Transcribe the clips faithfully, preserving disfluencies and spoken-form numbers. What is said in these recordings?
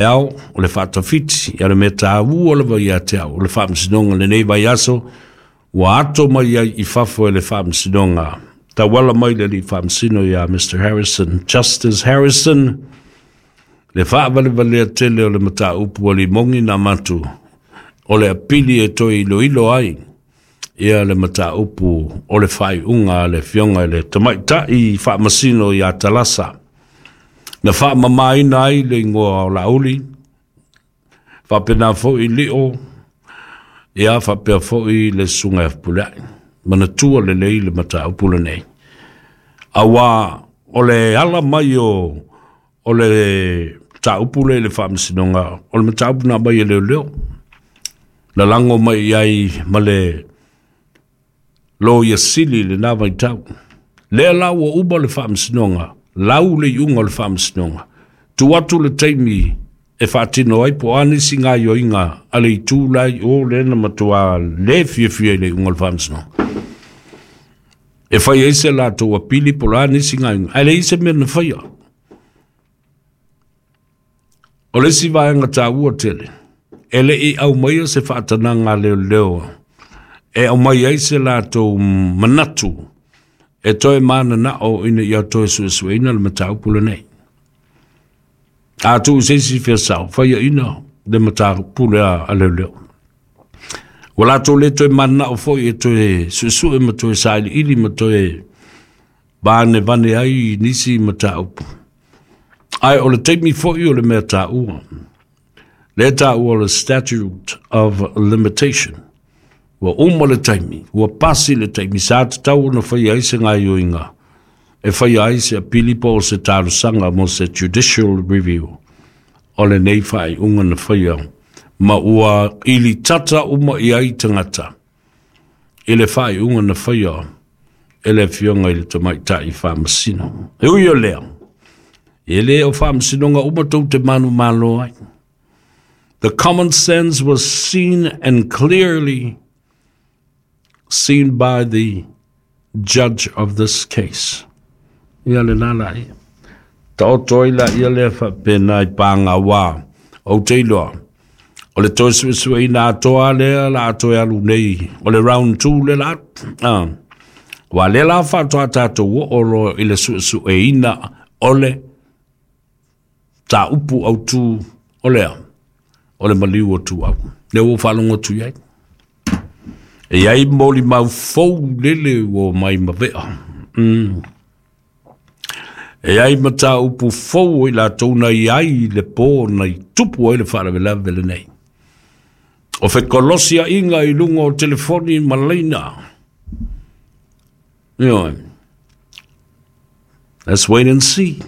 Ao o le faatafiti ia le mea taua lava ia te au o le faamasinoga lenei vaiaso ua ato mai ai i fafo e le faamasinoga tauala mai le alii faamasino ia Mister Harrison, Justice Harrison, le faavalevalea tele o le mataupu a limogi na matu o le apili e toe iloilo ai ia le mataupu o le faaiuga a le afioga i le tamaitai faamasino ia Talasa na faamamaina ai le igoa o Laauli, faapena foi Lio, ia faapea foi le susuga ia Fepuleai. Manatua lelei le mataupu lenei. Auā o le ala mai o, o le mataupu lea i le faamasinoga, o le mataupu na aumai e leoleo. Lalago mai i ai ma le loia sili i lena vaitau. Lea la ua uma le faamasinoga, lau le iuga o le faamasinoga, tuu atu le taimi e faatino ai po o a nisi gaoioiga a le itu la i o lea na matua le fiafia i le iuga o le faamasinoga. E fai ai se latou apili po o le a nisi gaoioiga, ae leai se mea na faia. O le isi vaega taua tele, e le i aumaia se faatanaga a leoleo e aumai ai se latou manatu e toe mananao ina ia toe suesueina le mataupu lenei. A tuu se isi feasao, faiaina le mataupu lea a leoleo. Ua latou le toe mananao foi e toe suesue ma toe sailiili ma toe vanevane ai nisi mataupu. Ae o le taimi foi o le mea taua. Le taua o le statute of limitation. Ua uma le taimi, ua pasi le taimi, sa tatau ona faia ai se gaoioiga, e faia ai se apili po o se talosaga mo se judicial review o lenei faaiuga na faia, ma ua ilitata uma i ai tagata i le faaiuga na faia e le afioga i le tamaitai faamasino. E ui o lea, e le o faamasinoga uma tou te manumalo ai. The common sense was seen and clearly seen by the judge of this case. Ia le lala ia. Taoto ai la ia lea faapena i pāgauā. Ou te iloa, o le toe suesueina atoa lea la toe alu nei, o le round two le la. Ah. Ua lea la faatoa tatou oo loa i le suesueina o le mataupu autu o lea, o le maliu o Tuau. Lea ua faalogo atu i ai. E i ai molimau fou lele ua mai mavea. Mm. E ai mataupu fou o i latou na i ai le pō na i tupu ai le faalavelave lenei. O fekolosiaiga i luga o telefoni ma laina. Ioe. Let's wait and see.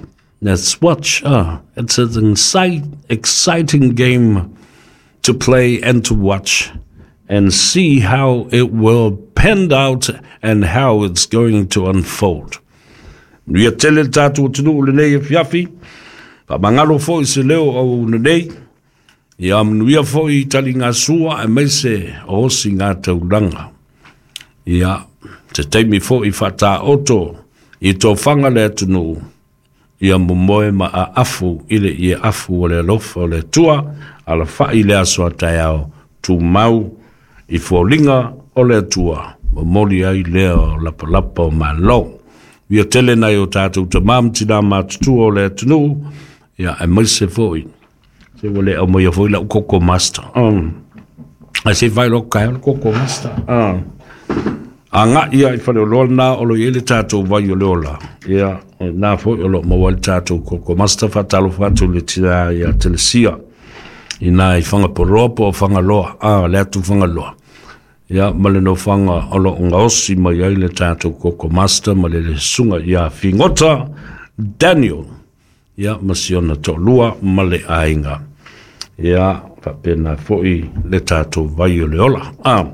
Let's watch. Ah, it's an excite, exciting game to play and to watch and see how it will pan out and how it's going to unfold. Manuia tele le tatou atunuu lenei afiafi, faamagalo foi se leo o auauna nei, ia manuia foi taligasua aemaise o osiga taulaga. Ia, se taimi foi faataoto i tofaga le atunuu, ia momoe ma aafu i le ieafu o le alofa o le Atua, alafai le aso a taeao, tumau i foliga o le Atua, momoli ai lea o lapalapa o malo. Ia tele nai o tatou tamā ma tinā matutua o le atunuu, ia aemaise foi. Se ua le aumaia foi lau Koko Master. Um. Ae se i fai loa kaeo le Koko Master. Um. Agai ia i faleoloa lena o lo o i ai le tatou vai o le ola. Ia, o lena foi o lo o maua ai le tatou Koko Master. Faatalofa atu i le tina ia Telesia i na i Fagapoloa po o Fagaloa, ah, le atu Fagaloa. Ia, ma le nofoaga o lo o gaosi mai ai le tatou Koko Master ma le susuga ia Figota Daniel. Ia, ma si ona toalua ma le aiga. Ia, faapena foi le tatou vai o le ola. Ah,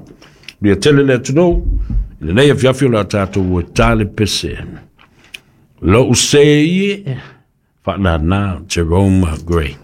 ia tele le atunuu, i lenei afiafi o le a tatou e tale pese. Lou se ie, faanana Jerome Gray.